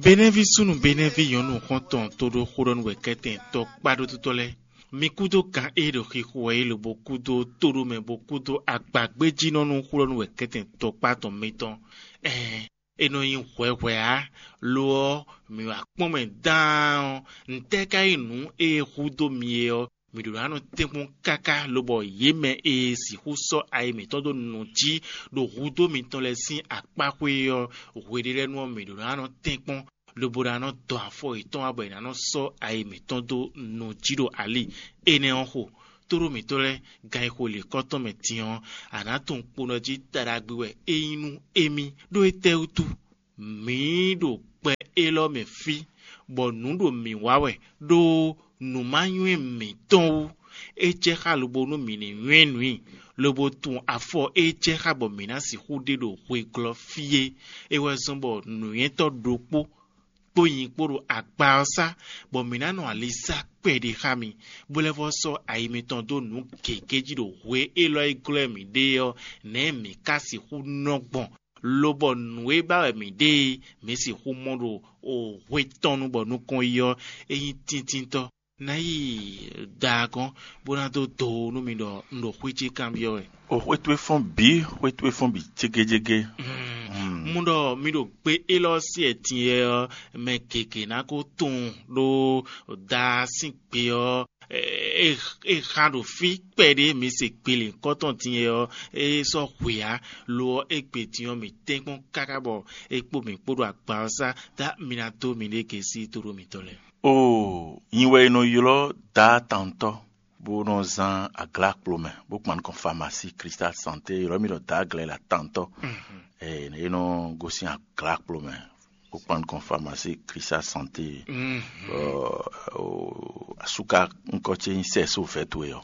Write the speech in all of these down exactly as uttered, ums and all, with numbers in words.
Benɛ́ví súnnu Benɛ́ví nyɔ̌nu xɔ́ntɔn tóɖó xóɖɔ́núwɛkɛ́tɛn tɔkpáɖótútɔ́ lɛ́ɛ, mi kúdó kan e ɖo xixo wɛ é lobo kúdó tóɖó mɛ bó kúdó agbagbéjínɔ́nú xóɖɔ́núwɛkɛ́tɛn tɔkpá tɔn mitɔn. Ɛɛn, è nɔ nyi hwɛhwɛ ǎ; lo ɔ́, mǐ wá kpɔ́n mɛ dáan ɔ́, ntɛ́ ka nyí nǔ e hudó mi é ɔ́? Mǐ ɖǒ ná nɔ tɛ́nkpɔ́n káká lobɔ yě mɛ e sixú sɔ́ ayi mǐtɔn dó nǔ jí ɖo hudó mitɔn lɛ́ɛ sín akpáxwé ɔ́, hweɖélɛ́nu ɔ́, mǐ ɖǒ ná nɔ tɛ́nkpɔ́n lobo ná nɔ dɔn afɔ yětɔn wá bɔ è nǎ nɔ sɔ́ ayi mǐtɔn dó nǔ jí ɖo ali. Énɛ́ ɔ́ xo, tóɖó mǐtɔn lɛ́ɛ, gan e xo lǐkɔ́ tɔn mɛ din ɔ́, a nǎ tunwun kponɔ jí taɖagbe wɛ é nyí nú émí. Ɖó étɛ́wútu? Mǐ ɖo gbɛ élɔ́ mɛ fí, bɔ nǔ ɖo mǐ wa wɛ, ɖó nǔ ma nywɛ́ mǐtɔn wú. É jɛ xá lobo nú mǐ ní nywɛ́ nǔ i, lobo tunwun afɔ e jɛ xá bɔ mǐ ná sixú ɖe ɖo hweglɔ́ fí é. É wɛ zɔ́n bɔ nǔnywɛ́tɔ́ ɖokpó kpó nyi kpó ɖo agba ɔ́ sá, bɔ mǐ ná nɔ ali sá kpɛɖé xá mi, bó lɛ́ vɔ́ sɔ́ ayi mitɔn dó nǔ gěgé jí ɖo hwe élɔ́ e glɔ́ mǐ ɖe ɔ́, nɛ̌ mǐ ka sixú nɔ gbɔn? Lobɔ nǔ e ba wɛ mǐ ɖe e mǐ sixú mɔ ɖo hwe tɔn nu bɔ nukɔn yi ɔ́, é nyí tíntíntɔ́. Ná yi da gɔ́n, bó ná dó do nú mi ɖɔ un ɖo xwé ce kanbyɔ́ wɛ. O xwé towe fɔ́n bǐ, xwé towe fɔ́n bǐ cégéjégé. Mu ɖɔ mi ɖo gbe élɔ́ sí ɛtìnyɛ ɔ́, mɛ gěgé ná ko tunwun ɖó da sín gbe ɔ́, é xa ɖo fí kpɛɖé mi se gbele kɔ́tɔn din e ɔ́, é sɔ́ hwe ǎ. Lo ɔ́, égbé din ɔ́, mǐ tɛ́nkpɔ́n káká bɔ é kpó mǐ kpó ɖo agba ɔ́ sá, dá mi ná dó miɖée gěsí tóɖó mitɔn lɛ́ɛ. Oo, nyi wɛ è nɔ ylɔ́ Daá tantɔ́, bó nɔ zán aglǎkplomɛ, bó kpan nukɔn famasí Cristal Santé, ylɔ́ mì ɖɔ Daá Glɛ̌la tantɔ́. Ee, é nɔ gosín aglǎkplomɛ, bó kpan nukɔn famasí Cristal Santé. Bɔ asúka ŋkɔ ce nyí sɛ́ só vɛ̌ towe ɔ́.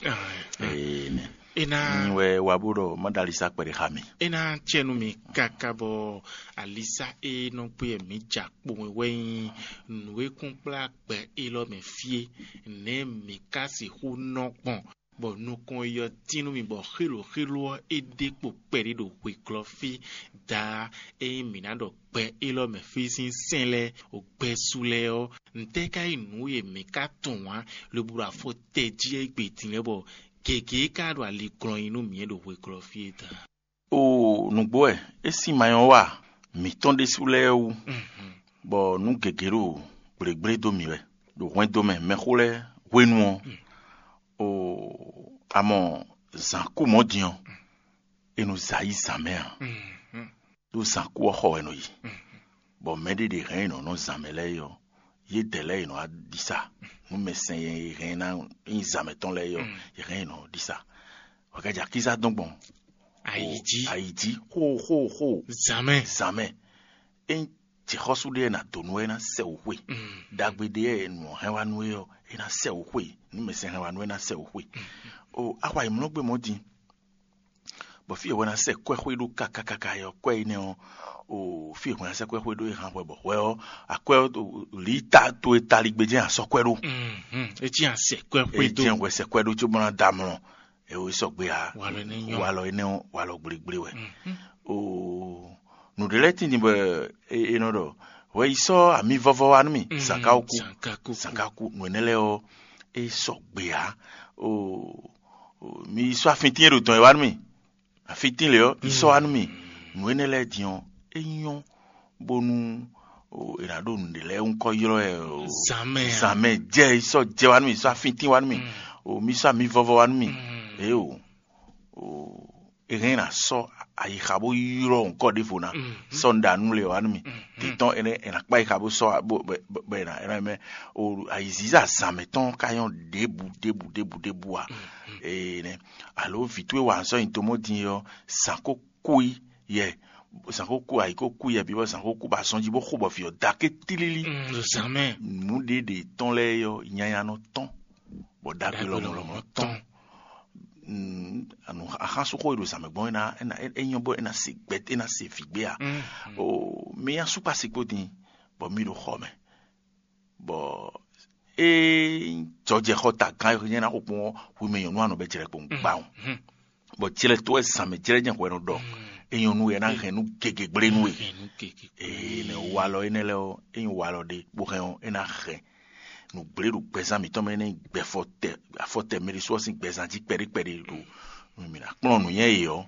Ee, nɛ. Nyi wɛ wa bó ɖɔ má ɖo ali sá kpɛɖé xá mi. É ná acɛ nú mi káká bɔ alisa e nɔ gbé mǐ ja kpowun wɛ nyí nǔ e kún kplá gbɛ élɔ́ mɛ fí é. Nɛ̌ mǐ ka sixú nɔ gbɔn, bɔ nukɔn yi ɔ́ tín nú mi bɔ xélo xélo ɔ́ é ɖe kpo kpɛɖé ɖo hweglɔ́ fí? Daa, ényí mǐ ná ɖɔ gbɛ élɔ́ mɛ fí sín sɛ́n lɛ́ɛ, o gbɛ́ su lɛ́ɛ ɔ́, ntɛ́ ka nyí nǔ e mǐ ka tunwun ǎ, lobo ɖo afɔ tɛ jí égbé din lɛ́ɛ bɔ gěgé ka ɖo ali glɔ́n nyi nú mǐ ɖo hweglɔ́ fí é ta? Oo, nǔgbó wɛ é sín ma nyɔ́ wa mǐtɔn ɖésú lɛ́ɛ wú, bɔ nǔ gěgé ɖo gblěgblé dó mǐ wɛ. Ɖo hwɛndo mɛ mɛxó lɛ́ɛ hwenu ɔ́, oo, a mɔ zǎn kú mɔ̌ din ɔ́, è nɔ zǎ yi zǎn mɛ ǎ, ɖó zǎn kú ɔ́ xɔ wɛ è nɔ yi. Bɔ mɛɖé ɖě hɛn yi nɔ nɔ zǎn mɛ lɛ́ɛ yi ɔ́, yědɛɛ lɛ́ɛ yi nɔ wá ɖisa. Nú mɛ sɛn e hɛn ná nyí zǎn mɛtɔn lɛ́ɛ yi ɔ́, yě hɛn yi nɔ ɖisa. Hwɛkɛ́ jɛ akízá dɔn gbɔn Ayǐjí. Ayǐjí xóxóxó. Zǎn mɛ. Zǎn mɛ. Ényí jǐxɔ́sú ɖé ná dó nú wɛ é ná sɛ wǔ xwe. Ɖagbe ɖé e nǔ hɛn wá nú é ɔ́, é ná sɛ wǔ xwe. Nú mɛ sɛn hɛn wá nú é ná sɛ wǔ xwe. O, axwa yi mlɔ́ gbé mɔ̌ din, bɔ fí e hwɛ ná sɛ kwɛ́ xwé ɖó kákákáká ɔ́, kwɛ́ énɛ́ ɔ́, o, fí e hwɛ ná sɛ kwɛ́ xwé ɖó é hán hwɛ bɔ hwɛ ɔ́, akwɛ́ ɔ́, lǐta towe taligbé jɛ́n asɔ́kwɛ́ ɖó. É cí asɛ kwɛ́ xwé é dó. Jɛ́n hwɛ sɛ kwɛ́ ɖó cóbɔ ná da mlɔ. Eo é sɔgbe ǎ. Walɔ énɛ́ nyɔ́. Walɔ énɛ́ ɔ́, walɔ gblégblé wɛ. Oo, nǔɖé lɛ́ɛ tíin bɔ è nɔ ɖɔ hwɛ yi sɔ́ ami vɔvɔ wá nú mì. Zǎnká kú. Zǎnká kú. Zǎnká kú. Nǔ énɛ́ lɛ́ɛ ɔ́, é sɔgbe ǎ. Oo, mi yi sɔ́ afintín e ɖo dɔn e wá nú mì. Afintín lě ɔ́, yi sɔ́ wá nú mì. Nǔ énɛ́ lɛ́ɛ din ɔ́, é nyɔ́ bónú è nǎ ɖo nǔɖé lɛ́ɛ ŋkɔ ylɔ́ ɛ o. Zǎn mɛ a? Zǎn mɛ jɛ yi sɔ́ jɛ wá nú mì, yi sɔ́ afintín wá nú mì. O, mi sɔ́ ami vɔvɔ wá nú mì. Ě o, o, è hɛn ná sɔ́ ayixa bó ylɔ́ ŋkɔ ɖěvo ná. Sɔ́ un ɖa nú le wá nú mì. Títɔn énɛ́ è nǎ kpá ayixa bó sɔ́ bó bɛ bɛ è nǎ è nǎ mɛ. O, ayǐzízá zǎn mɛtɔn ka nyɔ́ ɖěbǔ ɖěbǔ ɖěbǔ ɖěbǔ ǎ. Ee nɛ́. Alo vǐ towe wa sɔ́ nyi tomɔ́ din ɔ́, zǎn ko kú i yɛ, zǎn ko kú ayǐ ko kú yɛ bǐ bɔ zǎn ko kú bɔ azɔn jí bó xo bɔ vǐ ɔ́ da ké tlílí. Zǎn mɛ. Nǔɖé ɖě tɔn lɛ́ɛ ɔ́, nyanya nɔ tɔn, bɔ ɖagbe lɔmɔ̌ lɔmɔ̌ tɔn. Axánsúnxó e ɖo zǎn mɛ gbɔn é ná é ná é nyɔ́ bɔ é ná se gbɛ é ná se vǐ gbé a? O, mi asúkpasi kpó din, bɔ mi ɖo xɔ mɛ, bɔ é jɔjɛxɔta gán e nyɛ ná xo kpɔn ɔ́, hu mɛ nyɔ̌nu anɔ bɛ jlɛ kpɔn gbawun, bɔ jlɛ tó wɛ zǎn mɛ jlɛ jɛ hwɛ nɔ ɖɔ. é nyɔ́ nú we, é ná hɛn nú gěgé gblé nú we. Hɛn nú gěgé. Ee, nɛ walɔ énɛ́ lɛ́ɛ ɔ́, é nyí walɔ ɖé bó hɛn ɔ́, é ná hɛn nǔgblé ɖo gbɛzán mǐtɔn mɛ énɛ́, gbɛ fɔtɛ afɔtɛ mɛ ɖésú ɔ́ sín gbɛzán jí kpɛɖé kpɛɖé ɖo mǐ ná kplɔ́n nǔnywɛ́ yě ɔ́,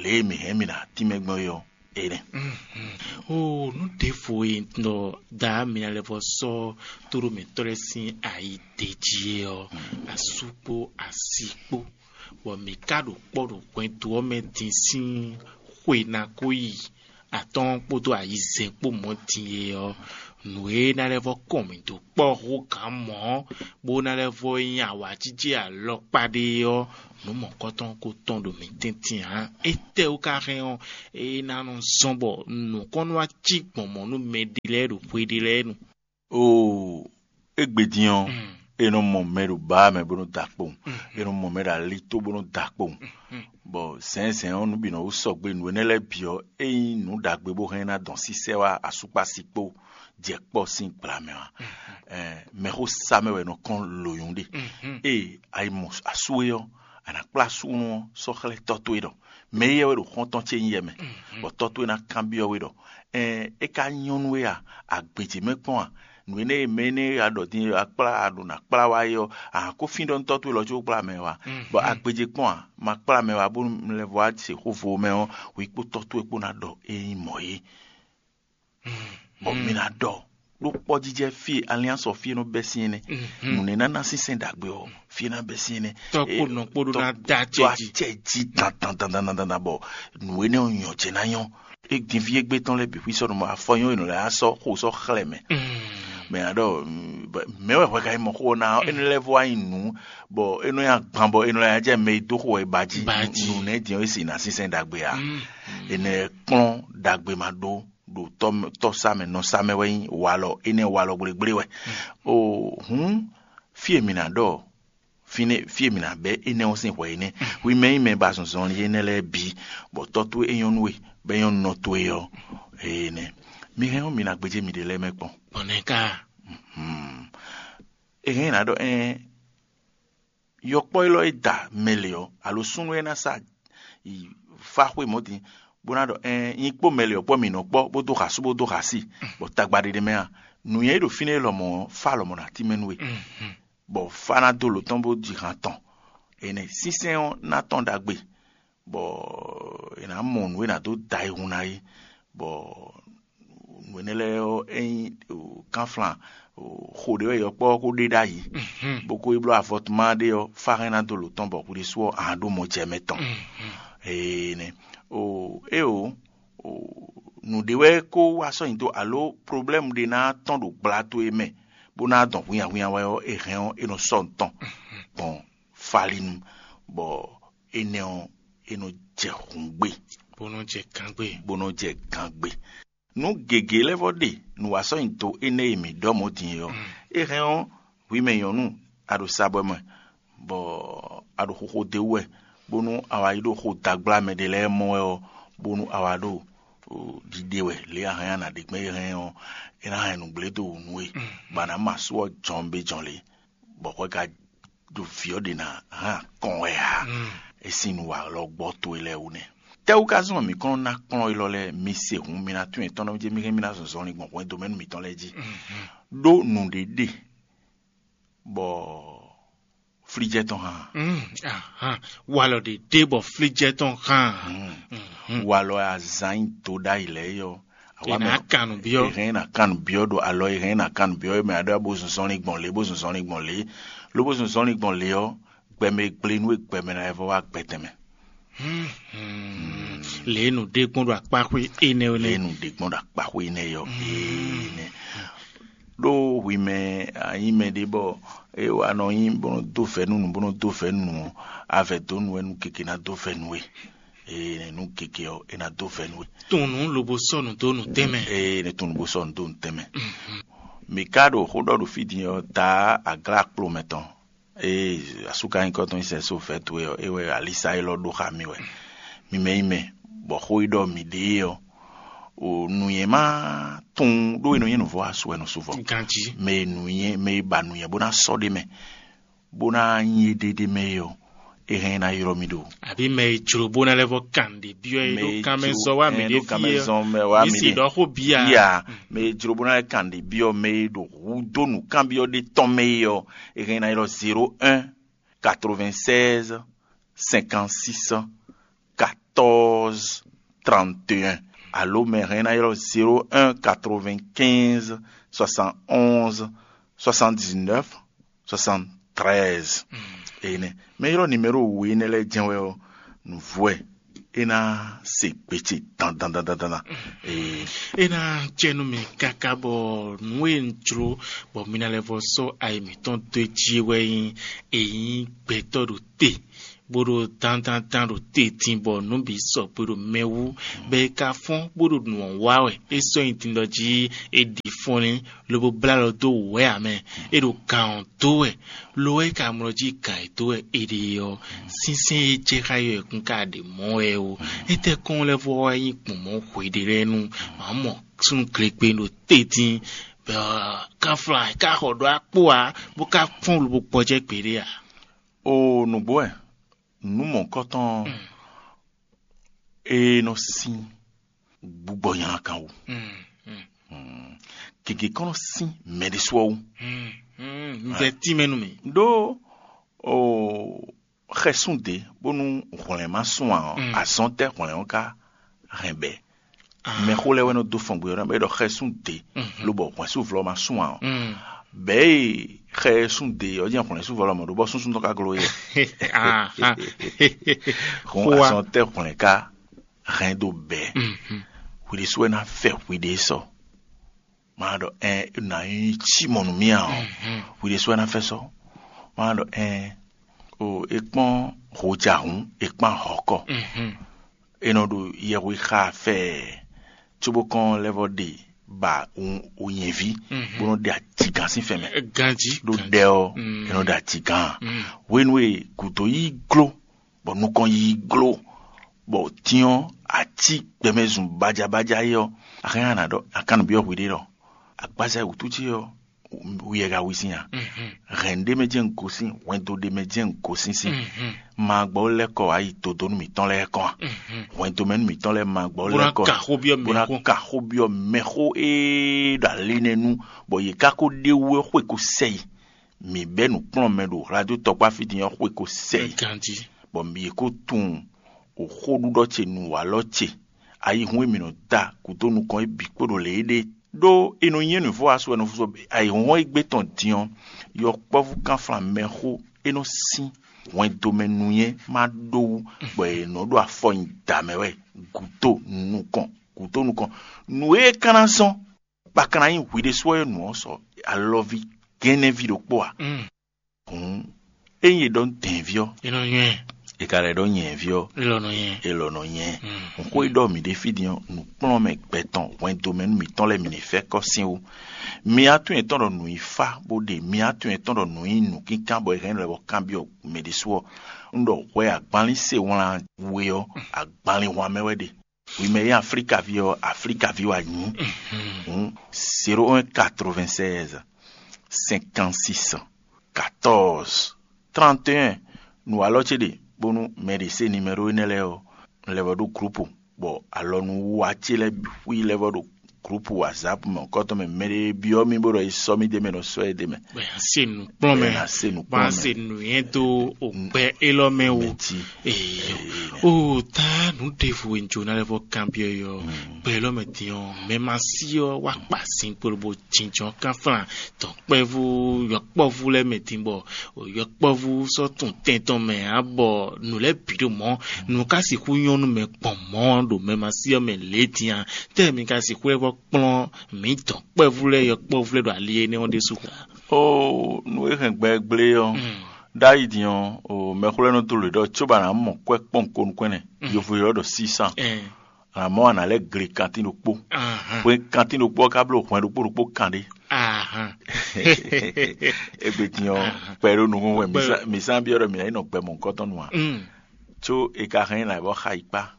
lě e mǐ hɛn mǐ ná tínmɛ gbɔn é ɔ́, é nɛ́. O nú ɖěvo e nɔ da mǐ ná lɛ́ vɔ sɔ́ tóɖó mǐtɔn lɛ́ɛ sín ayi d'é jí é ɔ́, asú kpó asi kpó, bɔ mǐ ka ɖo kpɔ́ ɖo hwɛndo ɔ́ mɛ din sín xwe ná kó yi atɔ́ɔ́n kpódó ayizɛ́n kpó mɔ̌ din é ɔ́, nǔ e ná lɛ́ vɔ kɔn mǐ dó kpɔ́ hú gǎn mɔ̌, bó ná lɛ́ vɔ nyí awǎjijɛ alɔkpa ɖé ɔ́, nǔ mɔ̌kɔtɔn ko tɔn ɖo mǐ tɛ́ntin ǎ. Étɛ́wú ka hɛn ɔ́, é ná nɔ zɔ́n bɔ nǔkɔn nɔ wá cí gbɔn mɔ̌ nú mɛɖé lɛ́ɛ ɖo hwe ɖé lɛ́ɛ nu? Oo, égbé din ɔ́, è nɔ mɔ mɛ ɖo bǎ mɛ bó nɔ da kpowun, è nɔ mɔ mɛ ɖo alitó bó nɔ da kpowun. Bɔ zɛ̌nzɛ̌n ɔ́, nǔ bǐ nɔ wú sɔgbe, nǔ énɛ́ lɛ́ɛ bǐ ɔ́, ényí nǔ ɖagbe bó hɛn ná dɔn sísɛ́ wá asúkpási kpó jɛ kpɔ́ sín gbla mɛ ɔ́, mɛxó sá mɛ wɛ nɔ kɔn lǒnyún ɖe. Ée a yi mɔ asú é ɔ́, a nǎ kplá asúnú ɔ́ sɔ́ xlɛ́ tɔ́ towe ɖɔ mɛ éyɛ́ wɛ ɖo xɔ́ntɔn ce nyí yɛ mɛ, bɔ tɔ́ towe ná kanbyɔ́ we ɖɔ: "Ɛn é ka nyɔ́ nú we a? Agbeje mɛ kpɔ́n a? Nǔ énɛ́ e mɛ énɛ́ e a ɖɔ din a kplá a ɖo nǎ kplá wá é ɔ́, a hǎn kó fínɖɔ́ nú tɔ́ towe lɔ có kplá mɛ wá, bɔ agbeje kpɔ́n a? Ma kplá mɛ wá bónú un lɛ́ vɔ wá se xó vo mɛ ɔ́, hwi kpó tɔ́ towe kpó ná ɖɔ é nyí mɔ̌ é." Bɔ mi ná ɖɔ ɖó kpɔ́jijɛ fí e alliance ɔ́ fí e nɔ bɛ́ sín é nɛ́. Nǔ e ná ná sínsɛ́n ɖagbe ɔ́, fí e ná bɛ́ sín é nɛ́. Tɔ́ kpó nɔ kpó ɖó ná dó acɛ jí. Acɛ jí dandandandandan bɔ nǔ énɛ́ ɔ́ nyɔ jɛ ná nyɔ́. É din fí égbé tɔn lɛ́ɛ bǐ xwí sɔ́ nɔ mɔ afɔ nyɔ́ e nɔ lɛ́ á sɔ́ xo sɔ́ xlɛ́ mɛ. Mɛ ná ɖɔ mɛ wɛ hwɛ ka yi mɔ xó ɔ́ ná énɛ́ lɛ́ɛ vɔ wá nyi nǔ bɔ é nɔ nyi agban bɔ é nɔ lɛ́ jɛ mɛ e dó xó wɛ ba jí. Nǔ nɛ́ din ɔ́ é si ná sínsɛ́n ɖagbe ǎ. Énɛ́ kplɔ́n ɖagbe ma ɖó ɖo tɔ́ sá mɛ nɔ sá mɛ wɛ nyí walɔ énɛ́ walɔ gblégblé wɛ. O hǔn fí e mǐ ná ɖɔ fínɛ́ fí e mǐ ná bɛ́ énɛ́ ɔ́ sín hwɛ énɛ́. Hwi mɛ nyí mɛ ba zɔnzɔnlin énɛ́ lɛ́ɛ bǐ, bɔ tɔ́ towe é nyɔ́ nú we, bɔ é nyɔ́ nú nɔ towe ɔ́, énɛ́. Mi hɛn ɔ́, mi ná gbéjé miɖée lɛ́ɛ mɛ kpɔ́n. Bɔnɛ ka? È hɛn ná ɖɔ ɛ́n yɔkpɔ́ élɔ́ e da mɛ lě ɔ́, alo súnnu e ná sa yi fá xwé mɔ̌ din, bó ná ɖɔ ɛ́n nyi kpó mɛ lě ɔ́ kpɔ́ mǐ nɔ kpɔ́ bó dó xasú bó dó xasí, bɔ tagba ɖé ɖé mɛ a, nǔnywɛ́ e ɖo fínɛ́ lɔmɔ̌ ɔ́, fá lɔmɔ̌ ná tínmɛ nú we. Bɔ fá ná dó lo tɔn bó ji han tɔn. Énɛ́ sínsɛ́n ɔ́ ná tɔn ɖagbe, bɔ è nǎ mɔ nǔ e nǎ dó da ayihun ná é, bɔ nǔ énɛ́ lɛ́ɛ ɔ́, é nyí kánflán xo ɖé wɛ yɔkpɔ́ ɔ́ ko ɖe ɖ'ayǐ, bó ko yi bló avɔtuma ɖé ɔ́, fá hɛn ná dó lo tɔn bɔ hwi ɖésú ɔ́, a ɖó mɔ jɛ mɛ tɔn. Énɛ́ o é o nǔɖé wɛ kó wá sɔ́ nyi dó alo problɛ́mu ɖé ná tɔn ɖo gbla towe mɛ, bó ná dɔn hwinnyahwinnya wɛ ɔ́, è hɛn ɔ́, é nɔ sɔ́ nǔ tɔn gbɔn falinu, bɔ énɛ́ ɔ́, é nɔ jɛ hǔngbe, bó nɔ jɛ gǎngbe. Bó nɔ jɛ gǎngbe. Nǔ gěgé lɛ́ɛ vɔ ɖe nǔwasɔ́nyito énɛ́ e mǐ ɖɔ mɔ̌ din é ɔ́, é hɛn ɔ́, hwi mɛ nyɔ̌nu, a ɖo sabɔ́ mɛ, bɔ a ɖo xoxo d'é wú wɛ, bónú a wá yi ɖo xo dagbla mɛ ɖé lɛ́ɛ mɔ wɛ ɔ́, bónú a wá ɖo ɖiɖe wɛ lě a hɛn a nǎ ɖe gbɛn é hɛn ɔ́, é ná hɛn nǔgblé dó wǔ nú we, bɔ a nǎ mɔ asú ɔ́ jɔn bé jɔn lě, bɔ hwɛ ka ɖo vǐ ɔ́ ɖě ná hɛn akɔn wɛ ǎ. É sín nu wa lɔ gbɔ towe lɛ́ɛ wú nɛ́. Tɛ́wú ka zɔ́n mǐ kɔn ná kplɔ́n élɔ́ lɛ́ɛ? Mi se hǔn, mi ná tún etɔ́n nɔ jɛ mi hɛn mi ná zɔzɔlin gbɔn hwɛndo mɛ nú mǐtɔn lɛ́ɛ jí. Ɖó nǔɖé ɖe bɔ flíjɛ tɔn hán. Walɔ ɖe ɖe bɔ flíjɛ tɔn hán. Walɔ azán nyi to ɖ'ayǐ lɛ́ɛ yɔ. È nǎ kan nǔ byɔ́. È hɛn ná kan nǔ byɔ́ ɖo alɔ, è hɛn ná kan nǔ byɔ́ mɛ aɖɔ bó zun zɔnlin gbɔn lě, bó zun zɔnlin gbɔn lě, ló bó zun zɔnlin gbɔn lě ɔ́, gbɛmɛ e gblé nú e gbɛmɛ ná vɔ wá gbɛtɛn mɛ. Lě e nǔ ɖe gbɔn ɖo akpáxwé énɛ́ ɔ́ Lě nɛ́. E nǔ ɖe gbɔn ɖo akpáxwé énɛ́ yɔ énɛ́. Ɖó hwi mɛ a nyí mɛɖé bɔ é wa nɔ nyí bó nɔ dó vɛ̌ nú nǔ, bó nɔ dó vɛ̌ nú nǔ ɔ́, a vɛ̌ dó nú wɛ nú gěgé ná dó vɛ̌ nú we. Ee, nǔ gěgé ɔ́, é ná dó vɛ̌ nú we. Tunwun nǔ lobo sɔ́ nǔ dó nǔtɛn mɛ. Ee, ne tunwun lobo sɔ́ nǔ dó nǔtɛn mɛ. Mi ka ɖo xó ɖɔ ɖo fí din ɔ́, taa aglá kplo mɛ tɔn. Ee, asúkanyíkɔ tɔn nyí sɛ́ só vɛ̌ towe ɔ́, é wɛ alisa élɔ́ ɖó xá mì wɛ. Mi mɛ nyí mɛ, bɔ xó e ɖɔ mǐ ɖe é ɔ́, o nǔnywɛ́ ma tunwun ɖó e nɔ nyí nǔvɔ́ asú wɛ nɔ sú vɔ. Ganjí. Mɛ e nǔnywɛ́, mɛ e ba nǔnywɛ́ bó ná sɔ́ ɖ'é mɛ, bó ná nyí éɖéɖé mɛ é ɔ́, È hɛn ná ylɔ́ mì ɖo. Àbí mɛ e jló bó ná lɛ́ vɔ kan ɖě byɔ́ é ɖó kanmɛ zɔ wá mì ɖé fí é, mɛ wá mì ɖé. Mǐ sì ɖɔ xó bíya. Bíya, mɛ e jló bó ná lɛ́ kan ɖě byɔ́ mɛ e ɖo hudó nǔkanbyɔ́ ɖé tɔn mɛ é ɔ́, è hɛn ná ylɔ́ zéro un quatre-vingt-seize cinquante-six quatorze trente et un. Alo mɛ hɛn ná ylɔ́ zéro un quatre-vingt-quinze soixante-onze soixante-dix-neuf soixante-treize. Énɛ́ mɛ ylɔ́ nimero we énɛ́ lɛ́ɛ jɛ́n wɛ ɔ́, nǔvú wɛ é ná se gbe ce dandan dandan dandan. Ee, É ná jɛ nú mì káká bɔ nǔ e un jló bɔ mi ná lɛ́ vɔ sɔ́ ayi mǐtɔn dó é jí é wɛ nyí è nyí gbɛtɔ́ ɖo te, bó ɖo dandandan ɖo te din bɔ nǔ bǐ sɔgbe ɖo mɛ wú, bɔ è ka fɔ́n bó ɖo nǔ ɔ́ wa wɛ. É sɔ́ nyi din ɖɔ jí è ɖi fɔnlín lobo blá alɔ dó wǔ wɛ ǎ mɛ. É ɖo gǎn ɔ́ dó wɛ, lo ɔ́ é ka mlɔ jí gǎn e dó wɛ è ɖe ɔ́, sínsɛ́n e jɛ xá yɔ ẹkún ka ɖe mɔ̌ wɛ ó. Étɛ́ kɔn lɛ́ vɔ wá nyí gbɔn mɔ̌ hweɖé lɛ́ɛ nu? Mǎ mɔ súnnu glegbenu ɖo te din, bɔ káflán ka xɔ ɖó akpó ǎ, bó ka fɔ́n lobo gbɔjɛ́ gbeɖé ǎ. O nǔgbó wɛ, nǔ mɔ̌hunkɔtɔn ɔ́, é nɔ sín gbugbɔ nyakan wú. Gěgé kɔn nɔ sín mɛ ɖésú ɔ́ wú. Un vɛ tínmɛ nú mì. Ɖó o xɛsún dě bónú hwlɛ̌n ma sún ǎ ɔ́, azɔn tɛ́ hwlɛ̌n ɔ́ ka hɛn bɛ̌? Mɛxó lɛ́ɛ wɛ nɔ dó fɔn gbe ɔ́ ná bɔ é ɖɔ xɛsún dě, lobɔ hwɛ̌nsúvlɔ ma sún ǎ ɔ́. Bɛ̌ e xɛsún dě ɔ́ jɛ́n hwlɛ̌nsúvlɔ mɔ̌ ɖó bɔ súnsún tɔn ka gló é. Hɔn azɔn tɛ́ hwlɛ̌n ka hɛn dó bɛ̌? Hwi ɖésú wɛ ná fɛ hwi ɖě sɔ. Ma ɖɔ ɛn, nǎ nyí cí mɔ nú mì ǎ ɔ́, hwi ɖésú wɛ ná fɛ sɔ. Ma ɖɔ ɛn, o è kpɔ́n hojahun, è kpán hɔ̌kɔ. È nɔ ɖo yɛhwe xa fɛɛ, cóbó kɔn lɛ́ vɔ ɖe ba wunnyɛví, bó nɔ ɖe ajigán sín fɛn mɛ. Ganjí ɖó ɖɛ ɔ́, è nɔ ɖe ajigán. Hwenu e gǔdo yí gló, bɔ nukɔn yí gló, bɔ tyɔ́n ací gbɛmɛzun bajabájá é ɔ́, a hɛn a nǎ ɖɔ a ka nǔ byɔ́ hwiɖée ɖɔ, agbaza e wǔtu ce ɔ́, wiɛ ka wi sín a? Hɛn ɖé mɛ jɛ́n un gosín, hwɛndo ɖé mɛ jɛ́n un gosín sín. Ma gbɔ lɛ́ kɔ wá yi dodonu mǐtɔn lɛ́ɛ kɔn a? Hwɛndo mɛ nú mǐtɔn lɛ́ɛ ma gbɔ lɛ́ kɔ ka xó byɔ́ bó ná mɛxó. Ka xó byɔ́ mɛxó e ɖo ali nɛ́ nu, bɔ yě ka ko ɖe wú é xwe ko sɛ yi. Mǐ bɛ́ nǔkplɔ́nmɛ ɖo hlado tɔkpá fí din ɔ́ xwe ko sɛ yi. Ganjí. Bɔ yě ko tunwun xóɖuɖɔ ce nǔwalɔ ce, ayihún e mǐ nɔ da gǔdo nukɔn é bǐ kpo ɖo lě éɖée. Ɖó è nɔ nyí nǔvɔ́ asu wɛ nɔ fúzɔ ayihɔ́n e gbé tɔn din ɔ́, yɔkpɔ́vú kánflán mɛxó é nɔ sín hwɛndomɛ nǔnywɛ́ ma ɖó wú, bɔ è nɔ ɖo afɔ nyi da mɛ wɛ gǔdo nukɔn, gǔdo nukɔn. Nǔ e ka ná zɔ́n bɔ a ka ná nyí hwi ɖésú ɔ́ e nǔ ɔ́ sɔ alɔví gɛ́nnɛ́ví ɖokpó a? Hǔn, ényí è ɖɔ nú dɛ̌nví ɔ́, é nɔ nywɛ́. È ka lɛ́ ɖɔ nyɛ̌ví ɔ́, é lɔ nɔ nyɛ. È lɔ nɔ nyɛ. Hǔn xó e ɖɔ mǐ ɖe fí din ɔ́, nǔkplɔ́nmɛ gbɛ tɔn hwɛndo mɛ nú mǐtɔn lɛ́ɛ mǐ ní fɛ́ kɔ́ sín wú. Mi atún yětɔn ɖɔ nǔ yi fá bó ɖe, mi atún yětɔn ɖɔ nǔ yi nǔkínkán bɔ è hɛn lɛ́ bɔ kanbyɔ́ mɛ ɖésú ɔ́, un ɖɔ hwɛ agbanlín se wlán we ɔ́, agbanlín hwan mɛ wɛ ɖe. Wi mɛ e nyí Aflíkaví ɔ́, Aflíkaví wɛ a nyǐ. Hǔn, zéro un quatre-vingt-seize cinquante-six quatorze trente et un, nǔ alɔ ce ɖe, bónú mɛ ɖě se nimɛɖó énɛ́ lɛ́ɛ ɔ́, un lɛ́ vɔ ɖó glǔpu, bɔ alɔnúwiwa ce lɛ́ɛ bǐ xwí lɛ́ vɔ ɖo glǔpu WhatsApp mɛ kɔ́tɔn mɛ, mɛ ɖé byɔ́ mì bó ɖɔ é sɔ́ mì d'é mɛ, nɔ sɔ́ ɛ d'é mɛ. Bɔ yě ná se nǔkplɔ́nmɛ, Bɔ yě ná se nǔkplɔ́nmɛ. Bɔ yě ná se nǔnywɛ́ dó ògbɛ́ élɔ́ mɛ wú. Mɛtí. Eyo. O ta nǔ ɖěvo e un jǒ ná lɛ́ vɔ kanbyɔ́ yɔ. Gbɛ élɔ́ mɛ din ɔ́, mɛ ma sí ɔ́ wá kpa sin kpolo bó jínjɔ́n kánflán dɔ̌nkpɛvú yɔkpɔ́vú lɛ́ɛ mɛ din bɔ yɔkpɔ́vú sɔ́ tun tɛn tɔn mɛ ǎ, bɔ nǔ lɛ́ɛ bǐ ɖo mɔ̌. Nǔ ka sixú nyɔ́ nú mɛ gbɔn mɔ̌ ɖo mɛ ma sí ɔ́ mɛ lě din a? Tɛ́ mi ka sixú lɛ́ vɔ kplɔ́n mǐ dɔ̌nkpɛvú lɛ́ɛ yɔkpɔ́vú lɛ́ɛ ɖo ali énɛ́ ɔ́ ɖésú? Ó, nú é hɛn gbɛ gblé ɔ́, ɖ'ayǐ din ɔ́, o mɛxwlɛ́nɔ dó lě ɖɔ cóbɔ a nǎ mɔ kwɛ́ kpɔ́n ko nukɔn ɛnɛ, yovo ylɔ́ ɖɔ sísán. Ɛ. A nǎ mɔ a nǎ lɛ́ gle kantín ɖokpó. Ahán. Hwe kantín ɖokpó ɔ́ ka bló hwɛn ɖokpó ɖokpó kan ɖé. Ahán. Égbé din ɔ́, kpɛ ɖó nukún wɛ mǐ sá byɔ́ ɖɔ mǐ ná yi nɔ gbɛ mɔ̌hunkɔtɔn nu ǎ. Mm. Có è ka hɛn nyi nǎ bɔ xa yi kpá.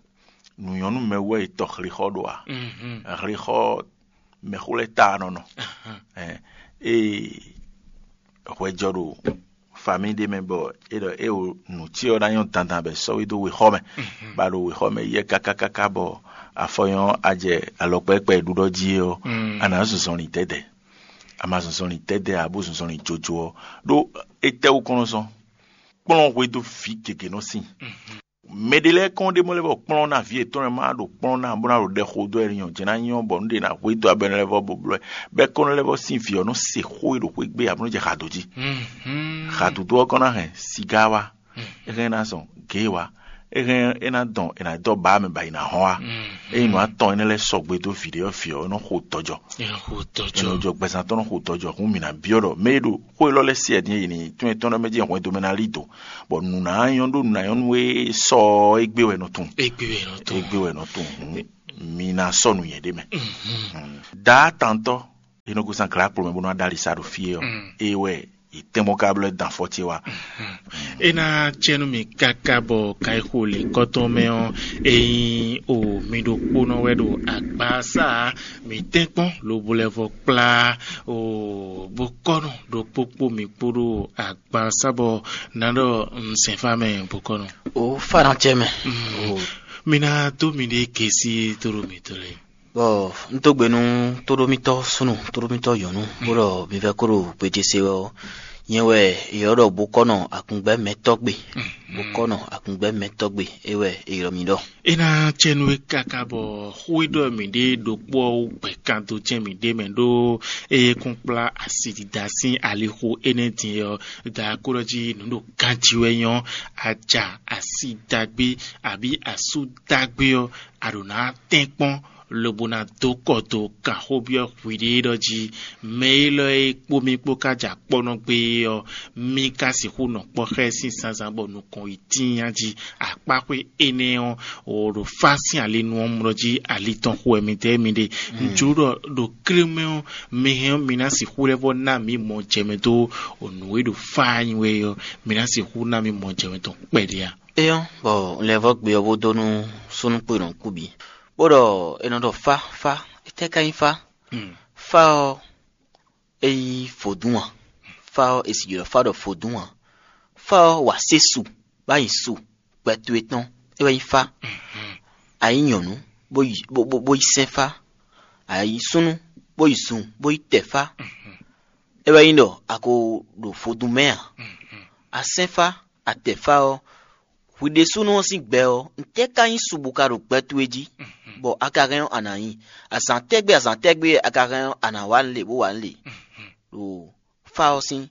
Nǔnyɔ́nú mɛ wú wɛ è tɔ hlixɔ ɖo ǎ. Mhm. Hlixɔ mɛxó lɛ́ɛ ta nɔ nɔ. Ahán. Ɛ, ée hwɛ jɔ ɖo Famí ɖé mɛ bɔ é ɖɔ é wo nǔ cyɔ ná nyɔ́ dandan bɔ è sɔ́ we dó wexɔ mɛ, bɔ a ɖo wexɔ mɛ yɛ káká káká bɔ afɔ nyɔ́ a jɛ alɔkpɛ́kpɛ́ e ɖuɖɔ jí é ɔ́, a nǎ zunzɔnlin dɛ̌dɛ̌. A ma zunzɔnlin dɛ̌dɛ̌ ǎ, bó zunzɔnlin jojo ɔ́, ɖó étɛ́wú kɔn nɔ zɔn? Kplɔ́n hwedó vǐ gěgé nɔ sin. Mɛ ɖé lɛ́ɛ kɔn ɖé mɔ lɛ́ bɔ kplɔ́n ná vǐ yětɔn lɛ́ɛ ma ɖo kplɔ́n ná bó ná ɖo ɖɛ xo dó wɛ ní nyɔ́ jɛ ná nyɔ́ bɔ nǔ ɖé ná hwedó abɛnú lɛ́ɛ vɔ bó blɔ́ ɛ. Bɔ é kɔn lɛ́ vɔ sín vǐ ɔ́ nɔ se xó e ɖo xwé gbe ǎ bó nɔ jɛ xa dǒ jí. Xa dǒdó ɔ́ kɔn ná hɛn sigá wá, é hɛn ná zɔn gě wá, é hɛn é ná dɔn è nǎ dɔ́ bǎ mɛ bɔ è nǎ hɔn wá. Ényí nǔ atɔn énɛ́ lɛ́ɛ sɔgbe dó vǐ ɖé ɔ́, vǐ ɔ́ nɔ xo tɔjɔ. È nɔ xo tɔjɔ. È nɔ jɔ gbɛzán tɔn nɔ xo tɔjɔ, hǔn mǐ ná byɔ́ ɖɔ mɛ e ɖo xó élɔ́ lɛ́ɛ se wɛ din e yě ní tún etɔ́n ɖɔ mɛ jí hwɛndo mɛ ná lí dǒ, bɔ nǔ ná nyɔ́ ɖó nǔ ná nyɔ́ nú é sɔ ɔ́, égbé wɛ nɔ tunwun. Égbé wɛ nɔ tunwun. Égbé wɛ nɔ tunwun. Hǔn mi ná sɔ́ nǔ nyɛ ɖé mɛ. Daá tantɔ́ e nɔ gosín aglǎkplɔ́ mɛ bó ná ɖó ali sá ɖo fí é ɔ́, é wɛ è tɛ́n mɔ ka blɔ́ dan fɔ ce wá. É ná cɛ nú mi káká bɔ ka yi xo lě kɔ́tɔn mɛ ɔ́, ényí o mi ɖokpónɔ wɛ ɖo agbaza, mi tɛ́nkpɔ́n lobo lɛ́ vɔ kplá o bokɔ́nɔ ɖokpó kpó mi kpó ɖo agbaza bɔ nǎ ɖɔ un sɛn fá mɛ bokɔ́nɔ. O fá ná cɛ mɛ. Mi ná dó miɖée gesi dó ɖo mǐtɔn lɛ́ɛ. Bɔ un dó gbe nú tóɖómítɔ́ súnnu, tóɖómítɔ́ nyɔ̌nu, bó ɖɔ mi vɛ́ kó ɖo gbeje se wɛ ɔ́, nyɛ wɛ è ylɔ́ ɖɔ bokɔ́nɔ akungbɛ́mɛtɔ́ gbe. Bokɔ́nɔ akungbɛ́mɛtɔ́ gbe, é wɛ è ylɔ́ mi ɖɔ. É ná cɛ nú we káká bɔ xó e ɖɔ mǐɖée ɖokpó ɔ́ wú gbɛ̌ kan dó jɛ́n mǐɖée mɛ ɖó eye kún kplá asi dida sín alixo énɛ́ din ɔ́, da kó ɖɔ jí nǔ ɖo ganjí wɛ nyɔ́, aja asi dagbe abǐ asú dagbe ɔ́, a ɖǒ ná tɛ́nkpɔ́n lobo ná dó kɔ dó kan xó byɔ́ hwiɖée ɖɔ jí mɛ élɔ́ e kpó mì kpó ka jɛ akpɔ́nɔ gbé é ɔ́, mì ka sixú nɔ kpɔ́ xá ɛ sín zǎnzǎn bɔ nukɔn yi tíin jí. Akpáxwé énɛ́ ɔ́, wǒ ɖo fá sín ali nu ɔ́ mlɔ́ jí ali tɔn xo wɛ mi dɛ mi ɖe. Un jló ɖɔ ɖo klé mɛ ɔ́, mi hɛn ɔ́, mi ná sixú lɛ́ vɔ ná mǐ mɔ jɛ mɛ dó nǔ e ɖo fá nyi wɛ ɔ́, mi ná sixú ná mì mɔ jɛ mɛ tɔn kpɛɖé a? É ɔ́, bɔ un lɛ́ vɔ gbe ɔ́ bó dó nú súnnu kpo e nɔ kú bǐ, bó ɖɔ è nɔ ɖɔ fá, fá, étɛ́ ka nyí fá? Fá ɔ́, é nyí vodún ǎ. Fá ɔ́, è sì ylɔ́ fá ɖɔ vodún ǎ. Fá ɔ́, wǎ sé su, bó ná nyi su, gbɛ towe tɔn, é wɛ nyí fá. A nyǐ nyɔ̌nu, bó yi bó bó bó yi sɛ́n fá. A nyǐ súnnu, bó yi zun, bó yi tɛ fá. É wɛ nyí ɖɔ a ko ɖo vodún mɛ ǎ. A sɛ́n fá, a tɛ fá ɔ́, hwi ɖésúnɔ ɔ́ sín gbɛ ɔ́, ntɛ́ ka nyí su bó ka ɖo gbɛ towe jí, bɔ a ka hɛn ɔ́ a nǎ nyi? Azǎn tɛ́gbé azǎn tɛ́gbé a ka hɛn ɔ́ a nǎ wa nǔ lě bó wa nǔ lě? Ɖo fá ɔ́ sín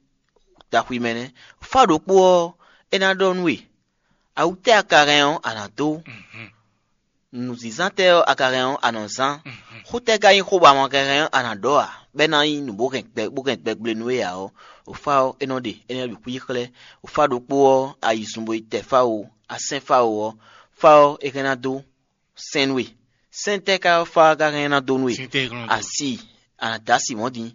taxwi mɛ nɛ́. Fá ɖokpó ɔ́, é ná ɖɔ nú we: Awutɛ́ a ka hɛn ɔ́, a nǎ dó? Nǔzínzán tɛ́ ɔ́ a ka hɛn ɔ́, a nɔ zán? Xó tɛ́ ka nyí xó bɔ a ma ka hɛn ɔ́, a nǎ ɖɔ ǎ, bɔ é ná nyí nǔ bó hɛn gbɛ bó hɛn gbɛgble nú we ǎ ɔ́, o fá ɔ́, é nɔ ɖe, é nɔ ɖi xwí xlɛ́. O fá ɖokpó ɔ́, a yi zun bo yi tɛ fá o, a sɛ́n fá o ɔ́, fá ɔ́, é hɛn ná dó sɛn nú we. Sɛ́n tɛ́ ka fá ɔ́ ka hɛn ná dó nú we? Asi, a nǎ dó asi mɔ̌ din,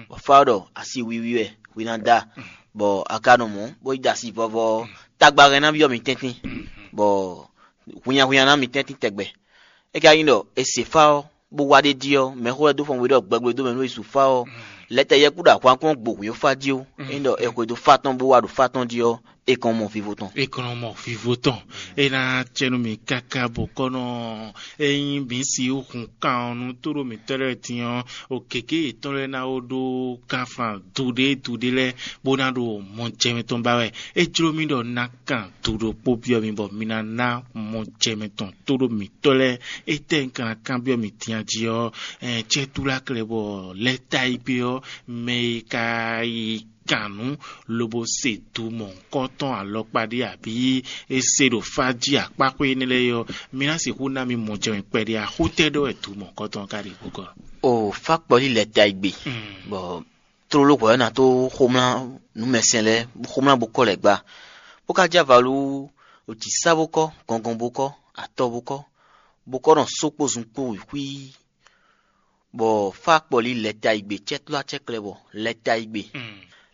bɔ fá ɔ́ ɖɔ asi wiwi wɛ hwi ná da, bɔ a ka nɔ mɔ̌ bó yi da asi vɔvɔ ɔ́, tagba hɛn ná byɔ́ mi tɛ́ntin, bɔ hwinnyahwinnya ná mi tɛ́ntin tɛgbɛ. É ka nyí ɖɔ è se fá ɔ́, bó wá ɖ'é jí ɔ́, mɛxó lɛ́ɛ dó fɔn we ɖɔ gbɛgbɛ dó mɛ nú è su fá ɔ́, lɛtɛ yɛkú ɖo ahwan kɔn gbo hwǐn fá jí ó. Ényí ɖɔ è xwedó fá tɔn bó wá ɖo fá tɔn jí ɔ́, é kɔn mɔ vivo tɔn. É kɔn mɔ vivo tɔn. É ná cɛ nú mi káká bɔ kɔnɔ ényí mǐ si hun kan ɔ́ nú tóɖó mǐtɔn lɛ́ɛ din ɔ́, o gěgé yětɔn lɛ́ɛ ná ó ɖó káfan duɖé duɖé lɛ́ɛ bó ná ɖo mɔjɛmɛ tɔn ba wɛ. É jló mì ɖɔ un ná kan do ɖokpó byɔ́ mi bɔ mi ná ná mɔjɛmɛ tɔn tóɖó mǐtɔn lɛ́ɛ. Étɛ́ un ka ná kanbyɔ́ mi din a jí ɔ́, cɛ́túláklɛ bɔ lɛ́ ta yi gbé ɔ́, mɛ e ka yi kan nǔ lobo se du mɔ̌hunkɔtɔn alɔkpa ɖé abǐ é se ɖo fá jí akpáxwé énɛ́ lɛ́ɛ é ɔ́, mi ná sixú ná mi mɔjɛmɛ kpɛɖé axótɛ́ ɖɔ wɛ du mɔ̌hunkɔtɔn ká ɖe kpókɔ. O fá kpɔlí lɛ́ ta yi gbe, bɔ tlóló hwɛ̌ ɔ́ ná tó xomlá nǔmɛsɛn lɛ́ɛ, xomlá bó kɔ́ lɛ̌ gba, bó ka jɛ avalu wú, o jǐ sá bó kɔ́, gɔngɔn bó kɔ́, atɔ bó kɔ́, bó kɔ́ nɔ só kpó zun kpó xwíí, bɔ fá kpɔlí lɛ́ ta yi gbe cɛ́tlɔ́ acɛ́klɛ́ bɔ lɛ́ ta yi gbe.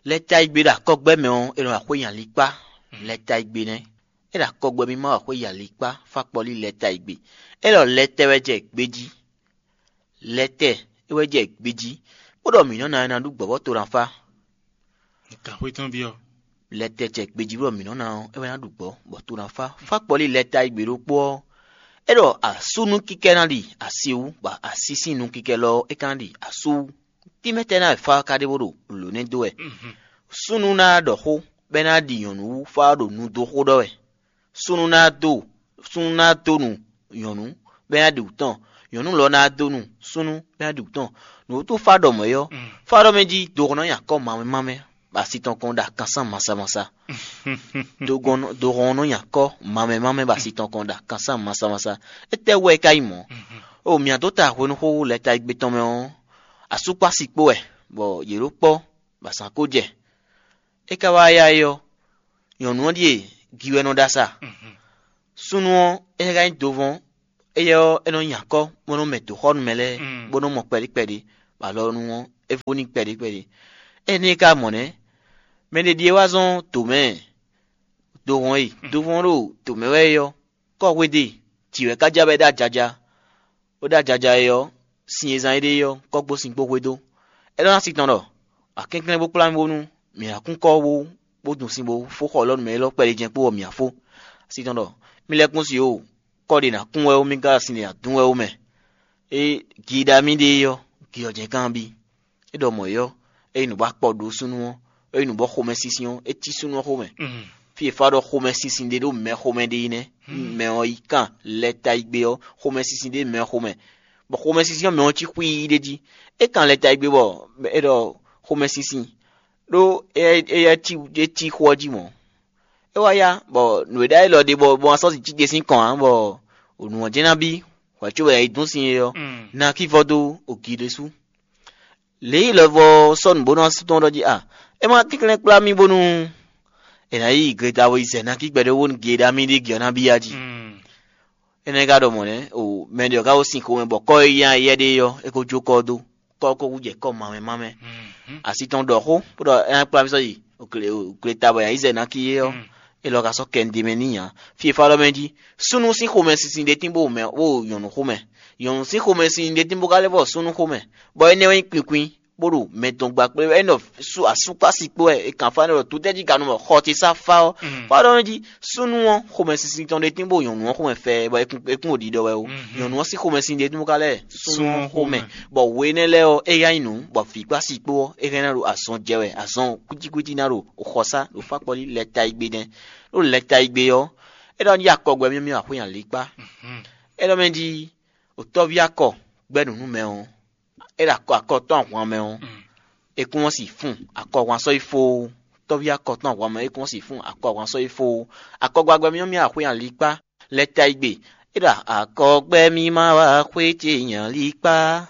Lɛ́ ta yi gbe ɖo akɔgbɛ́ mɛ ɔ́, è nɔ wa xwé nyi ali kpá. Lɛ́ ta yi gbe nɛ́. É ɖo akɔgbɛ́ mì ma wa xwé yi ali kpá, fá kpɔlí lɛ́ ta yi gbe. É ɖɔ lɛ́ tɛ wɛ jɛ gbejí. Lɛ́ tɛ é wɛ jɛ gbejí, bó ɖɔ mǐ nɔ ná ɛ ná ɖu gbɔ̌ bɔ to ná fá. Gǎnxwé tɔn byɔ́. lɛtɛ jɛ gbejí bɔ mǐ nɔ ná ɔ́, é wɛ ná ɖu gbɔ̌, bɔ to ná fá. Fá kpɔlí lɛta e gbe ɖokpó ɔ́, é ɖɔ asú nú kíkɛ ná ɖi asi wú, bɔ así sín nú kíkɛ lɔ ɔ́, é ka ná ɖi asú wú. Tínmɛ tɛ́ ná wɛ fá ɔ́ ka ɖe bó ɖo lǒ nɛ́ dó wɛ? Súnnu ná ɖɔ xó, bɔ é ná ɖi nyɔ̌nu wú fá ɔ́ ɖo nu dó xó ɖɔ wɛ. Súnnu ná dó súnnu ná dó nu nyɔ̌nu, bɔ é ná ɖi wǔ tɔn. Nyɔ̌nu lɔ ná dó nu súnnu, bɔ é ná ɖi wǔ tɔn. Nǔwútu fá ɖɔ mɔ̌ é ɔ́, fá ɖɔ mɛ jí dohɔn nɔ nyi akɔ́ mamɛ mamɛ, bɔ asi tɔn kɔn ɖo akansán masamasa. Dohɔn nɔ nyi akɔ́ mamɛ mamɛ, bɔ asi tɔn kɔn ɖo akansán masamasa. Étɛ́ wɛ é ka nyí mɔ̌? O mǐ dó ta hwenu xó lɛ́ ta e gbé tɔn mɛ ɔ́, asú kpó asi kpó wɛ, bɔ yě ɖó kpɔ́, bɔ azǎn ko jɛ. É ka wá yá é ɔ́, nyɔ̌nu ɔ́ ɖíe gi wɛ nɔ ɖó asá. Súnnu ɔ́, é ka nyí dovɔn, éyɛ́ ɔ́, é nɔ nyi akɔ́, bó nɔ́ mɛ dǒxɔ́nú mɛ lɛ́ɛ, bó nɔ́ mɔ kpɛɖé kpɛɖé, bɔ alɔnu ɔ́, é vó n'i kpɛɖé kpɛɖé. Énɛ́ é ka mɔ nɛ́, mɛ ɖé ɖíe wá zɔ́n dǒ mɛ, dovɔn e dovɔn ɖo dǒ mɛ wɛ é ɔ́, kɔ́ hwéde, jǐ wɛ ka ja bɔ é ɖo ajaja. Bó ɖo ajaja é ɔ́, sin e zán éɖée ɔ́, kɔ́ kpó sin kpó hwedó. É ɖɔ ná sin tɔn ɖɔ: "Akɛnklɛ́n bó kplá mì bónú mǐ ná kún kɔ́ bó bó dun sin bó fó xɔ lɔ́ nú mɛ élɔ́ kpɛɖé jɛ́n kpó bɔ mǐ ná fó." Sin tɔn ɖɔ: "Mi lɛ́ kún si o, kɔ́ ɖě ná kún wɛ ó, mì ka sin ɖě ná dún wɛ ó mɛ." É gi ɖa mì ɖe é ɔ́, gi ɔ́ jɛ́n kanbí. É ɖɔ mɔ̌ é ɔ́, é yi nǔ bɔ akpɔ ɖó súnnu ɔ́, é yi nǔ bɔ xomɛsinsin ɔ́, é cí súnnu ɔ́ xomɛ. Fí e fá ɖɔ xomɛsinsin ɖé ɖo mɛ xomɛ ɖé yi nɛ́. Mɛ ɔ́ yi kan lɛ́ ta yi gbe ɔ́, xomɛsinsin ɖé mɛ xomɛ, bɔ xomɛsinsin ɔ́ mɛ ɔ́ cí xwíí ɖé jí. É kan lɛ́ ta yi gbe bɔ é ɖɔ xomɛsinsin ɖó éyɛ́ cí é cí xó ɔ́ jí mɔ̌. É wá yá bɔ nǔ e ɖ'ayǐ lɔ ɖe bɔ bɔ asɔ́ cí ɖe sín kɔn ǎ, bɔ nǔ ɔ́ jɛ́n ná bí hwɛ̌ cóbɔ è yi dún sin é ɔ́, ná kí vɔ dó ogi ɖésú. Lě yi lɔvɔ sɔ́ nǔ bó nɔ́ tɔn ɖɔ jí a, é má tínklɛ́n kplá mì bónú è nǎ yi gleta bo yi zɛ ná kí gbɛɖé wónú gi e ɖo amí ɖé gi ɔ́ ná bí yá jí. Énɛ́ ka ɖɔ mɔ̌ nɛ́ o, mɛ ɖě ɔ́ ka ko sin xomɛ bɔ kɔ́ e yá yɛ ɖé ɔ́, é ko jó kɔ́ dó, kɔ́ ko wú jɛ kɔ́ mamɛ mamɛ. Asi tɔn ɖɔ xó bó ɖɔ é ná kplá mì sɔ́ yi gleta bɔ è nǎ yi zɛ ná kí é ɔ́, é lɔ ka sɔ́ kɛ ɖ'é mɛ n'i ǎ. Fí e fá ɖɔ mɛ jí, súnnu sín xomɛsinsin ɖé tín bó mɛ bó nyɔ̌nu xomɛ, nyɔ̌nu sín xomɛsin ɖé tín bó ka lɛ́ vɔ súnnu xomɛ, bɔ énɛ́ wɛ nyí kwinkwin, bó ɖo mɛ tɔn gba kplé wɛ. É nɔ sú asúkpási kpó wɛ, è kǎn fá nɔ ɖɔ tutɛ́jí ka nɔ mɔ xɔ ce sá fá ɔ́. Fá ɖɔ nú jí súnnu ɔ́ xomɛsinsin tɔn ɖé tín bó nyɔ̌nu ɔ́ xomɛ fɛ bɔ é kún é kún ɖo ɖiɖɔ wɛ ó. Nyɔ̌nu ɔ́ sín xomɛsin ɖé tín bó ka lɛ́ súnnu ɔ́ xomɛ, bɔ hwenɛ́ lɛ́ɛ ɔ́, é yá nyí nǔ bɔ vǐ kpó asi kpó ɔ́, é hɛn ná ɖo azɔn jɛ wɛ, azɔn kwítíkwítí ná ɖo xɔsá ɖo fákpɔ́lí lɛ́ ta yi gbe nɛ́. Ɖó lɛ ta yi gbe ɔ́, é ɖɔ nú yí akɔgbɛ myɔ́myɔ́ axwé alíkpá. É ɖɔ mɛ jí, otɔ́ví akɔ gbɛ́ nǔ nú mɛ ɔ́, é ɖo akɔ akɔ tɔn ahwan mɛ ɔ́, é kún ɔ́ si fún akɔhwan sɔ́ yi fó. Tɔ́ví akɔ tɔn ahwan mɛ é kún ɔ́ si fún akɔhwan sɔ́ yi fó. Akɔgbɛgbɛ myɔ́myɔ́ axwé alíkpá lɛ́ ta yi gbe. É ɖɔ akɔgbɛ mì ma wá xwé ce nyi alíkpá.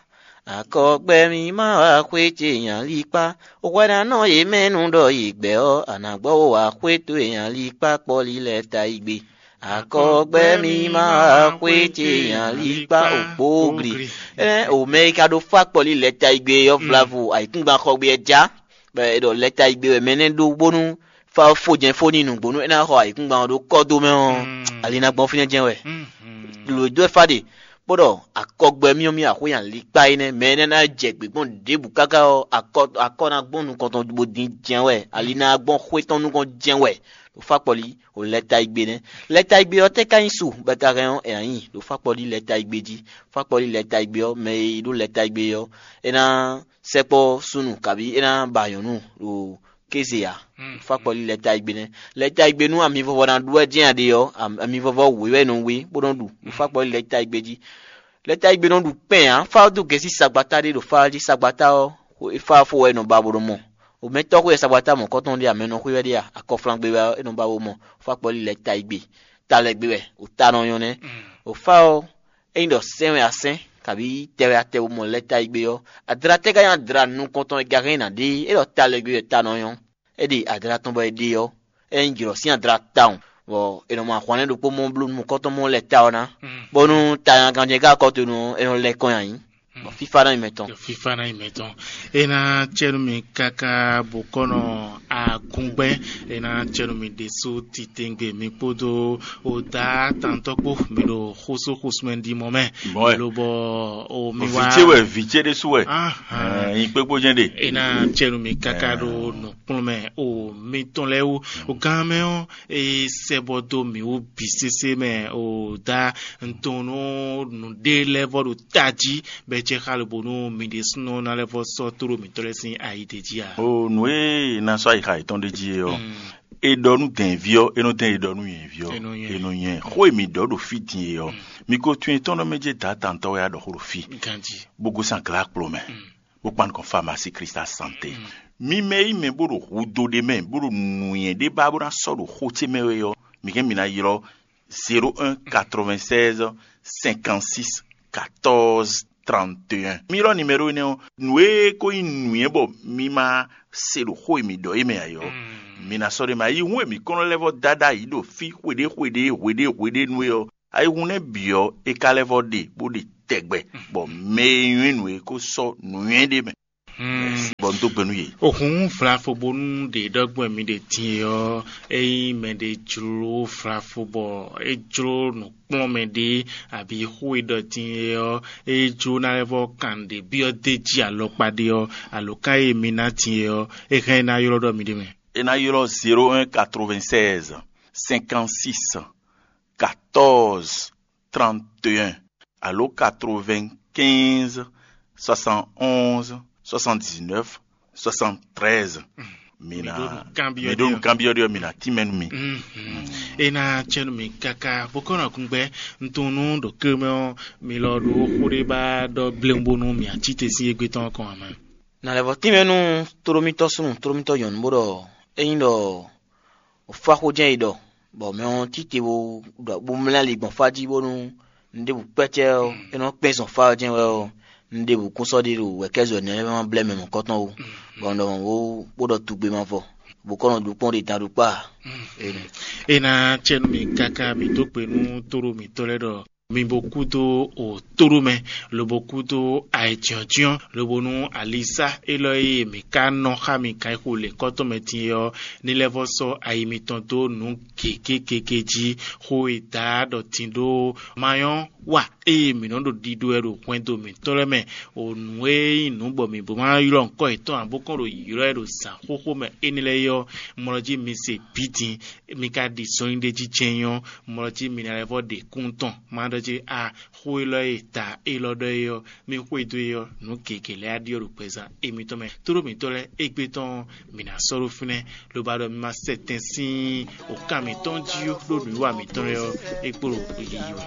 Akɔgbɛ mì ma wá xwé ce nyi alíkpá. Hwɛɖánɔ e mɛ nu ɖɔ yi gbɛ ɔ́, a nǎ gbɔ wá xwé towe nyi alíkpá kpɔ́lí lɛ́ ta yi gbe. Akɔgbɛ mì ma wá xwé ce nyi alíkpá òkpógli. Ɛn o mɛ e ka ɖo fá kpɔ́lí lɛ́ ta yi gbe ɔ́ vlavo ayǐkúngban xɔ gbe ɛ já. Bɔ è ɖɔ lɛ́ ta yi gbe wɛ mɛ nɛ́ ɖó bónú fá fó jɛ́n fó n'i nǔgbó nú é ná xɔ ayǐkúngban ɔ́ ɖó kɔ́ dó mɛ ɔ́, ali ná gbɔn fínɛ́ jɛ́n wɛ. Lǒ dó ɛ fá ɖe, bó ɖɔ akɔgbɛ myɔ́myɔ́ axwé nyi alíkpá énɛ́, mɛ énɛ́ ná jɛ gbě gbɔn ɖěbǔ káká ɔ́, akɔ akɔ ná gbɔn nukɔn tɔn bó dín jɛ́n wɛ, ali ná gbɔn xwé tɔn nukɔn jɛ́n wɛ. Ɖo fá kpɔlí o lɛ́ ta yi gbe nɛ́. Lɛ́ ta yi gbe ɔ́ tɛ́ ka nyí su bɔ è ka hɛn ɔ́ è nǎ nyi ɖo fá kpɔlí lɛ́ ta yi gbe jí. Fá kpɔlí lɛ́ ta yi gbe ɔ́, mɛ e ɖó lɛ́ ta yi gbe ɔ́, é ná sɛkpɔ́ súnnu kabí é ná ba nyɔ̌nu ɖo kéze ǎ. Fá kpɔlí lɛ́ ta yi gbe nɛ́. Lɛ́ ta yi gbe nú ami vɔvɔ ná ɖu wɛ jɛ́n a ɖe ɔ́, am- ami vɔvɔ wěwé nɔ wé bó nɔ́ ɖu. Fá kpɔlí lɛ́ ta yi gbe jí. Lɛ́ ta yi gbe nɔ́ ɖu kpɛn ǎ. Fá dó gɛ̌ sín sagbata ɖé ɖo fá ɔ́ jí. Sagbata ɔ́, xwe- fá ɔ́ fó wɛ é nɔ ba bó nɔ mɔ. O mɛtɔ́ xwe wɛ sagbata mɔ̌kɔtɔn ɖé a, mɛ nɔ xwe wɛ ɖé a, akɔflangbe wɛ ɔ́, é nɔ ba bó mɔ. Fá kpɔlí lɛ́ ta yi gbe. Ta lɛ́ gbe wɛ, o ta nɔ nyɔ́ nɛ́. O fá ɔ́, ényí ɖɔ sɛ́n wɛ a sɛ́n, kabí tɛ wɛ a tɛ bó mɔ lɛ́ ta yi gbe ɔ́, adra tɛ́ ka nyí adra nukɔntɔn e gahɛn ná ɖe é ɖɔ ta lɛ́ gbe wɛ ta nɔ nyɔ́. É ɖe adra tɔn bɔ è ɖe ɔ́, é nyí jlɔ̌ sín adra tawun, bɔ è nɔ mɔ ahwan lɛ́ɛ ɖokpó mɔ bló nukɔntɔn mɔ lɛ́ ta ɔ́ ná, bónú ta nyaganjɛ ká kɔ́ to nú ɔ́, é nɔ lɛ́ kɔn nyi ayǐ. Fífá ná nyí mɛtɔn. Fífá ná nyí mɛtɔn. É ná cɛ́ nú mi káká bó kɔ́ nɔ agungbɛ́. É ná cɛ́ nú mi ɖésú titewungbe mi kpódó o dá tantɔ́ kpó mi ɖo xósó xósúmɛ ɖi mɔ mɛ. Lobɔ o mi wá. Vǐ ce wɛ, vǐ ce ɖésú wɛ. Nyi kpékpó jɛ́n ɖe. É ná cɛ́ nú mi káká ɖo nǔkplɔ́nmɛ o mitɔn lɛ́ɛ wú. O gán mɛ ɔ́, é sɛ́ bɔ dó mǐ wú bǐ sésé mɛ o dá ntɔn nú nǔɖé lɛ́ɛ vɔ ɖo tají bɔ é cɛ xá lobonu mi ɖésúnɔ ná lɛ́ vɔ sɔ́ tóɖó mǐtɔn lɛ́ɛ sín ayi d'é jí ǎ. O nǔ e ná sɔ́ ayixa yětɔn ɖ'é jí é ɔ́, è ɖɔ nú dɛ̌nví ɔ́, é nɔ dɛn è ɖɔ nú nyɛ̌ví ɔ́, è nɔ nyɛ. Xó e mǐ ɖɔ ɖo fí din é ɔ́, mi ko tun etɔ́n ɖɔ mɛ jɛ dǎ tantɔ́ wɛ a ɖɔ xó ɖo fí, bó gosín aglá kplɔ́ mɛ, bó kpan nukɔn Farmasi Krista Sante. Mi mɛ e nyí mɛ bó ɖo hudó ɖé mɛ, bó ɖo nǔnywɛ́ ɖé ba bó ná sɔ́ ɖo xó ce mɛ wɛ ɔ́, mi hɛn mi ná ylɔ́ zéro un quatre-vingt-seize cinquante-six quatorze trente et un. Mi ylɔ́ nimɛɖó énɛ́ ɔ́, nǔ e ko nyí nǔnywɛ́ bɔ mi ma se ɖo xó e mi ɖɔ é mɛ ǎ é ɔ́, mi ná sɔ́ ɖ'é mɛ. Ayihún e mǐ kɔn nɔ lɛ́ vɔ dá ɖ'ayǐ ɖo fí xweɖé xweɖé hweɖé hweɖé nú é ɔ́, ayihún nɛ́ bǐ ɔ́, é ka lɛ́ vɔ ɖe bó ɖe tɛgbɛ, bɔ mɛ e nywɛ́ nǔ é ko sɔ́ nǔnywɛ́ ɖ'é mɛ. Bɔ un dó gbe nú yě. Òhun vlafo bónú ɖě ɖɔgbɔn mi ɖe din é ɔ́, ényí mɛɖé jló vlafo bɔ é jló nǔkplɔ́nmɛ ɖé abǐ xó e ɖɔ din é ɔ́, é jló ná lɛ́ vɔ kan ɖě byɔ́ d'é jí alɔkpa ɖé ɔ́, alǒkan e mi ná din é ɔ́, é hɛn é ná ylɔ́ ɖɔ mi ɖ'é mɛ. É ná ylɔ́ zéro un quatre-vingt-seize cinquante-six quatorze trente et un alo quatre-vingt-quinze soixante-onze soixante-dix-neuf soixante-treize. Mi ná mi ɖó nǔkanbyɔ́ ɖɔ mi ná tínmɛ nú mi. É ná cɛ́ nú mi káká bó kɔ́ nɔ kún gbɛ́. Un tunwun nú ɖo kéré mɛ ɔ́, mi lɔ ɖó xó ɖé ba ɖɔ bléwún bónú mi ǎ cí te sín égbé tɔn ɔ́ kɔn ǎ mɛ. Na lɛ́ vɔ tínmɛ nú tóɖómítɔ́ súnnu tóɖómítɔ́ nyɔ̌nu bó ɖɔ ényí ɖɔ fá xó jɛ́n è ɖɔ, bɔ mɛ ɔ́ títí bó ɖɔ bó mlá ali gbɔn fá jí bónú un ɖěbǔ kpɛ́cɛ́ ɔ́, é nɔ kpɛ́n zɔn fá ɔ́ jɛ́n wɛ ɔ́, un ɖěbǔ kún sɔ́ ɖi ɖo wɛ̌kɛ́zɔ̌ énɛ́ lɛ́ɛ mɛ ma blɛ́ mɛ mɔ̌kɔtɔn ó, bɔ un ɖɔ mɔ̌ bó bó ɖɔ tugbe ma vɔ, bó kɔ́ nɔ ɖu kpɔ́n ɖe dan ɖu kpá. É ná cɛ́ nú mi káká mi dó gbe nú tóɖó mǐtɔn lɛ́ɛ ɖɔ mi bo kúdó òtóɖó mɛ, lobo kúdó ayɛjyɔ́jyɔ́, lobo nú alisá élɔ́ e mǐ ka nɔ xá mi kan xo lěkɔ́tɔn mɛ din é ɔ́, ní lɛ́ vɔ sɔ́ ayi mitɔn dó nǔ gěgé gěgé jí. Xó e da ɖɔ din ɖó mayɔ́ wa eye mǐ nɔ ɖo ɖiɖo wɛ ɖo hwɛndo mǐtɔn lɛ́ɛ mɛ, o nǔ e nyí nǔ bɔ mǐ bó ma ylɔ́ ŋkɔ yětɔn ǎ, bó kɔn ɖo ylɔ́ ɛ ɖo zǎn xóxó mɛ énɛ́ lɛ́ɛ é ɔ́, mlɔ jí mi se bǐ din, mi ka ɖi zɔnlin ɖé jí jɛ́n nyɔ́, mlɔ jí mi ná lɛ́ vɔ ɖe kún tɔn, ma ɖɔ jí a xó élɔ́ e ta élɔ́ ɖɔ é ɔ́, mi xwedó é ɔ́, nǔ gěgé lɛ́ɛ á ɖyɔ́ ɖo gbɛzán émítɔn mɛ. Tóɖó mǐtɔn lɛ́ɛ égbé tɔn mǐ ná sɔ́ ɖó fínɛ́, lobo ɖɔ mi ma sɛ tɛn sín wǒkan mǐtɔn jí ó, ɖó nǔwiwa mǐtɔn lɛ́ɛ ɔ́, é kpo ɖo yiyi wɛ.